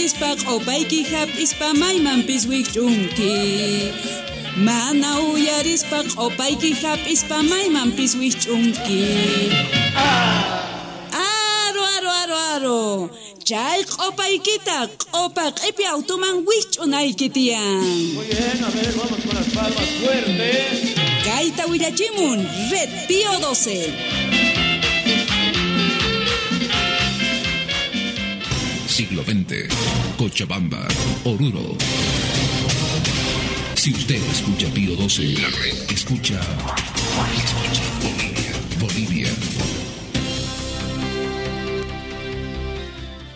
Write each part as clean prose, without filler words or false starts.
uyarispa q'opayki hap'ispa maymanpis wikch'unki. Mana uyarispa q'opayki hap'ispa maymanpis wikch'unki. Aro, aro, aro, aro. Chay q'opaykita q'opa q'ipi automan wikch'unayki tiyan. Muy bien, a ver, vamos con las palmas fuertes. Kayta willachimun Red Pío 12. Siglo XX, Cochabamba, Oruro. Si usted escucha Pío 12, la red escucha. Escucha Bolivia, Bolivia.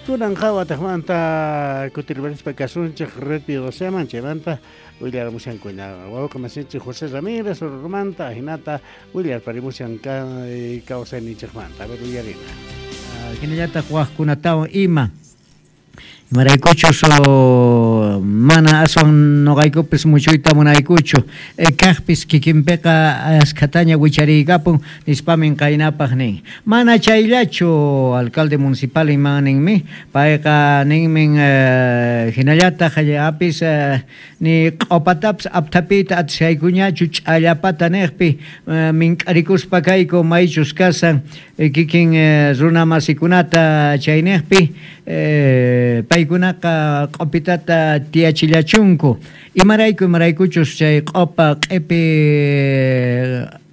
Kunan wataqmanta kutirparispa kasunchik Red Pío 12man chaymanta willaramushankuna wawqi masinchik José Ramírez Orurumanta ajinata willarparimushan kawsayninchikmanta. A ver, willarina. Hinallataq wajkunatawan ima. Imaraykuchus mana aswan noqaykupis muchuyta munaykuchu kaqpis kikinpiqa askhataña wichariykapun nispamin qaynapaq nin. Mana chayllachu alcalde municipal iman ninmi payqa ninmin hinallataq apis ni q'opatapis aptapiyta atishaykuñachu ch'allapata niqpi mink'arikuspa kayku maychus kasan kikin runa masikunata chayniqpi paykunaqa q'opitata tiyachillachunku. Imarayku imaraykuchus chay q'opa q'ipi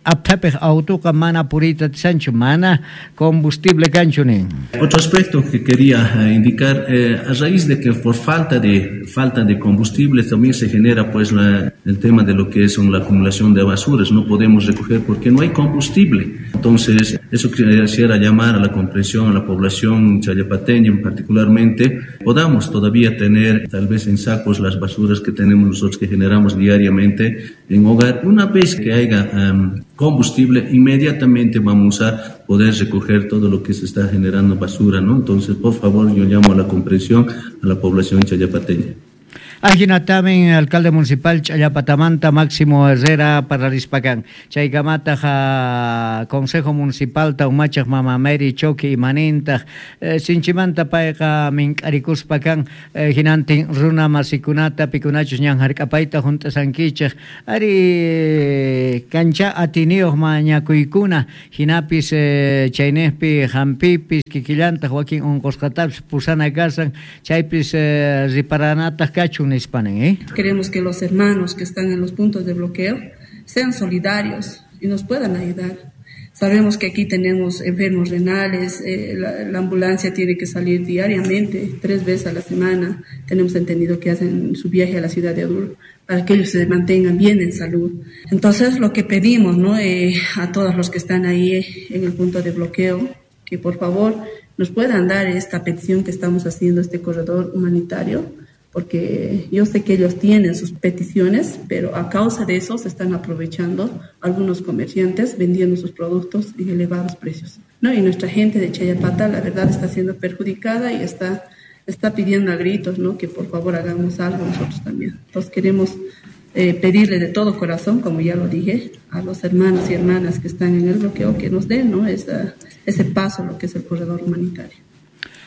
aptapiq autoqa mana puriyta atisanchu, mana combustible kanchu nin. Otro aspecto que quería indicar, a raíz de que por falta de combustible también se genera pues el tema de lo que es la acumulación de basuras, no podemos recoger porque no hay combustible. Entonces, eso quisiera llamar a la comprensión a la población chayapateña particularmente, podamos todavía tener tal vez en sacos las basuras que tenemos nosotros que generamos diariamente en hogar. Una vez que haya combustible, inmediatamente vamos a poder recoger todo lo que se está generando basura, ¿no? Entonces, por favor, yo llamo a la comprensión a la población chayapateña. Ajinatamin alcalde municipal Chayapatamanta Máximo Herrera parlarispakan. Chaykamataqa Consejo Municipal ta umachaq Mama Mary Choki imanintaq sinchimanta payqa mink'arikuspakan hinantin runa masikunata pikunachus ñan hark'apayta hunt'asankichik ari kancha atiniyuq mañakuykuna hinapis chayniqpi hampipis kikillantaq wakin unqusqatapis pusana kasan chaypis riparanataq kachun. Queremos que los hermanos que están en los puntos de bloqueo sean solidarios y nos puedan ayudar. Sabemos que aquí tenemos enfermos renales, la ambulancia tiene que salir diariamente, 3 veces a la semana. Tenemos entendido que hacen su viaje a la ciudad de Oruro para que ellos se mantengan bien en salud. Entonces, lo que pedimos, ¿no?, a todos los que están ahí en el punto de bloqueo, que por favor nos puedan dar esta petición que estamos haciendo, este corredor humanitario, porque yo sé que ellos tienen sus peticiones, pero a causa de eso se están aprovechando algunos comerciantes vendiendo sus productos en elevados precios, ¿no? Y nuestra gente de Challapata, la verdad, está siendo perjudicada y está pidiendo a gritos, ¿no?, que por favor hagamos algo nosotros también. Entonces queremos pedirle de todo corazón, como ya lo dije, a los hermanos y hermanas que están en el bloqueo, que nos den, ¿no?, ese paso, lo que es el corredor humanitario.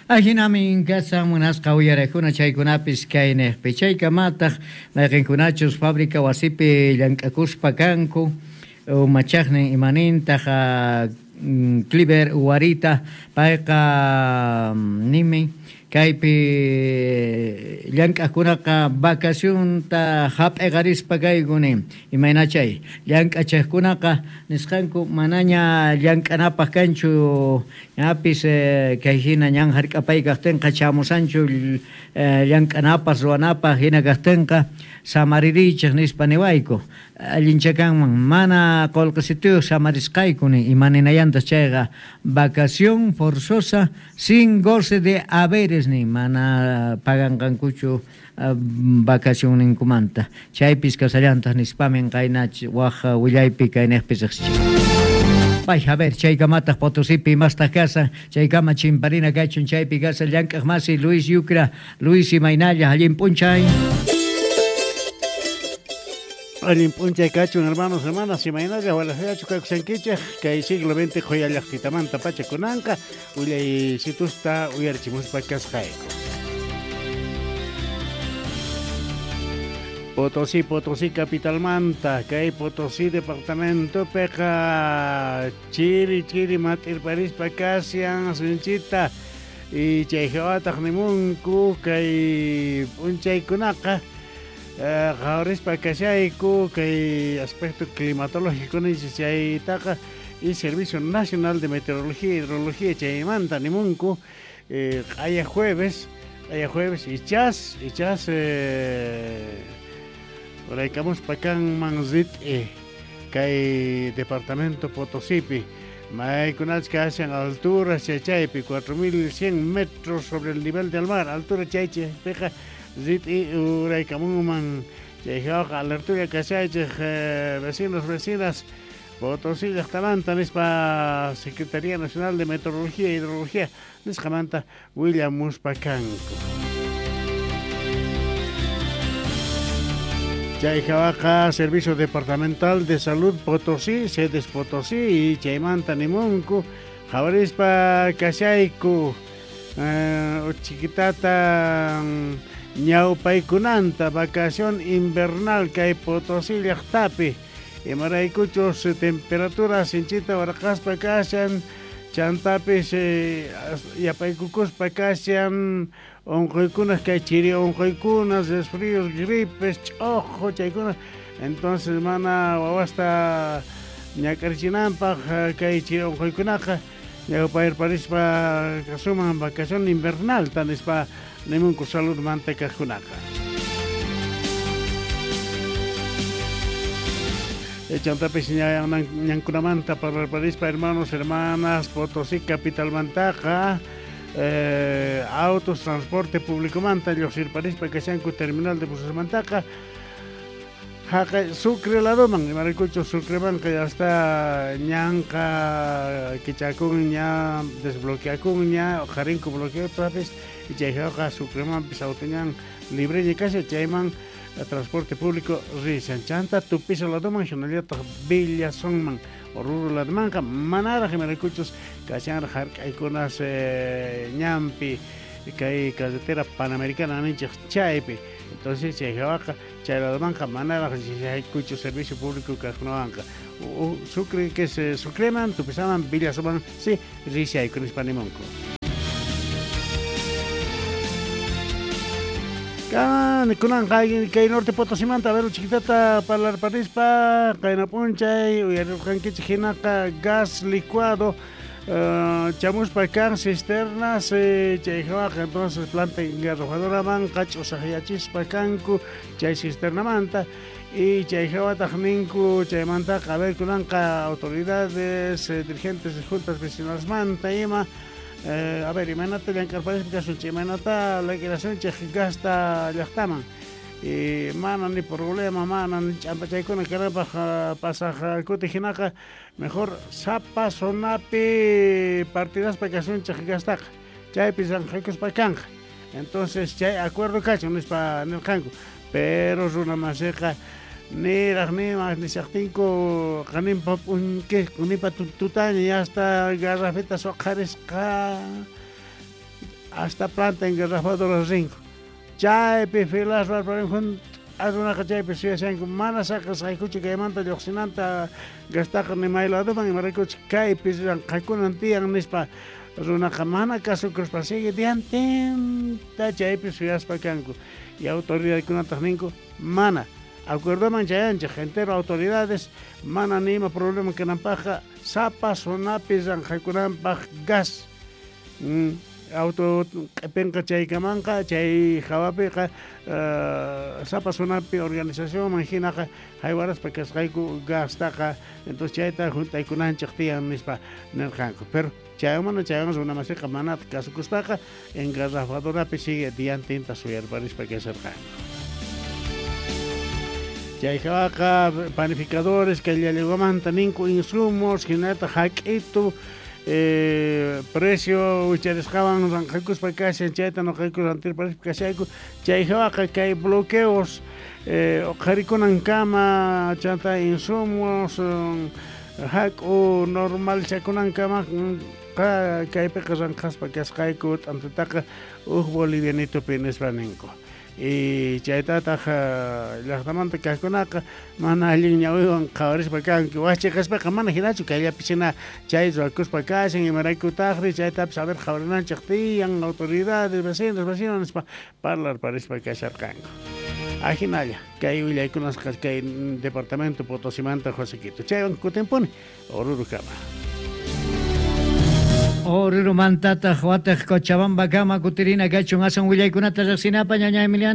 Ajinamin kasan munasqa uyarajuna chaykunapis kayniqpi chaykamataq mayqinkunachus fábrica wasipi llank'akuspa kanku umachaqnin imanintaq Cliver Huarita payqa nimin kaypi llank'aqkunaqa vacacionta hap'iqarispa kayku nin imayna chay llank'achaqkunaqa nisqanku manaña llank'anapaq kanchu ñapis kay hina ñan hark'apay kaqtinqa chamusanchu llank'anapaq ruwanapaq hina kaqtinqa samaririychik nispa niwayku allinchakanman mana qullqisituyuq samarisqayku nin imaninayantas chayqa vacación forzosa sin goce de haberes nin mana paganqankuchu vacacionninkumanta chaypis kasallantaq nispamin qaynach waj willaypi kayniqpi riqsichik. Bay, a ver, chaykamataq Potosipi imastaq kasan, chaykama chimparina kachun chaypi kasan llank'aq masi Luis Yucra, Luis imaynalla, allin p'unchay. Allin p'unchay kachun hermanos, hermanas, imaynalla, walajachu kakusankichik, kay siglo XX qhuyallaqtitamanta pacha kunanqa, willaysitusta uyarichimuspa kasqayku. Potosí, Potosí capitalmanta, kay Potosí departamentopiqa chiri chiri mat'irparispa kashan sinchita y chay hawataq nimunku kay p'unchaykunaqa qhawarispa kashayku kay aspecto climatológico ninchis chaytaqa y Servicio Nacional de Meteorología e Hidrología chaymanta nimunku q'aya jueves ichas uraykamuspa kanman rit'i kay departamento Potosípi maykunachus kashan altura chaypi 4100 metros sobre el nivel del mar altura chaypiqa rit'i uraykamunman chay hawaqa alertulla kashaychej vecinos vecinas Potosí llaqtamanta nispa Secretaría Nacional de Meteorología e Hidrología nisqamanta willamuspa kanku. Chay hawaqa Servicio Departamental de Salud Potosí, Sedes Potosí y chaymanta nimunku qhawarispa kashayku chiquitata ñawpaykunanta vacación invernal kay Potosí llaqtapi imaraykuchus temperatura sinchita warqaspa kashan chantapis yapaykukuspa kashan onqoykunas kay chiri onqoykunas resfríos gripes ch'oqo chaykunas entonces mana wawasta ñak'arichinanpaq kay chiri onqoykunaqa ñawpayarparispa kasuman vacación invernal nispa nimunku salud manta kaqkunaqa. Chantapis ñankunamanta parlarparispa hermanos, hermanas, Potosí capitalmantaqa autos, transporte público manta lluqsirparispa kashanku terminal de buses mantaqa haqay Sucre ladoman imaraykuchu Sucremanqa ya está ñanqa kichakunña desbloqueakunña uqharinku bloqueotapis y chay hawaqa Sucremanpis auto ñan libreña kashan chayman transporte público rishan chanta Tupiza ladoman hinallataq Villazónman Oruro ladomanqa manaraq imaraykuchus kashanraq hark'aykunas ñanpi kay carretera panamericana ninchej chaypi entonces chay hawaqa chay ladomanqa manaraq rishaykuchu servicio público kaqkunawanqa Sucre que es Sucreman Tupizaman Villazónman sí rishayku nispa nimunku. Kunanqa kay norte Potosimanta a ver chiquitata parlarparispa qayna p'unchay uyarirqankichik hinaqa gas licuado chamuspa kan cisternas chay hawaqa entonces planta engarrafadoramanqa ch'usaqyachispa kanku chay cisternamanta y chay hawataq ninku chaymantaqa a ver kunanqa autoridades dirigentes de juntas vecinalesmanta ima a ver, imaynata llank'arparispa kasunchik, imaynata liquidasunchik gasta llaqtaman y mana ni problema, mana ni ch'ampachaykuna kanapaq pasaq kuti hinaqa mejor sapa zonapi partidaspa kasunchik gastaqa chaypi llanqaykuspa kanqa entonces chay acuerdo kachun nispa nirqanku pero runa masiqa niraq nima nishaqtinku qaninpa p'unki qanipa tutaña ya hasta garrafitas uqharisqa hasta planta engarrafadoras rinku chaypi filas runaqa chaypi suyashanku mana saqisqaykuchu kaymanta lluqsinanta gastaqa ni may ladoman imaraykuchu kaypi llanqakunan tiyan nispa runaqa mana kasukuspa sigue diantinta chaypi suyaspa kanku y autoridadkunataq ninku mana acuerdoman chayanchik entero autoridades mana ni ima problema kananpaqqa sapa zonapi llanqakunanpaq gas auto q'ipinqa chaykamanqa chay hawapiqa sapa zonapi organizacionman hinaqa haywaraspa kasqayku gastaqa entonces chayta juntaykunanchik tiyan nispa nirqanku pero chaywan mana chaywan runamasiqa mana kasukuspaqa engarrafadorapi sigue diantinta suyarparispa kasharqanku. Chay hawaqa panificadores kay llallawamanta ninku insumos hinallataq hak'itu precio wicharisqawan ranqaykuspa kashan chayta nuqayku rantirparispa kashayku chay hawaqa kay bloqueos uqharikunankama chanta insumos hak'u normalchakunankama Nuqa kaypiqa ranqhaspa kasqayku t'antataqa uj bolivianitupi nispa ninku. Y chaytataq llaqtamanta kaqkunaqa mana allin ñawiwan qhawarispa kanku. Wajchiqaspaqa mana hinachu kayllapi hina chay ruwakuspa kashan imaraykutaqri chaytapis a ver qhawarinanchik tiyan autoridades vecinos vecinos nispa parlarparispa kasharqanku. Ajinalla kay willaykunasqa kay departamento Potosimanta Josequito. Chaywan kutinpuni Orurukama. Orurumantataq wataq Cochabamba kama kutirina kachun asan willaykunata riqsinapa ñaña Emiliano.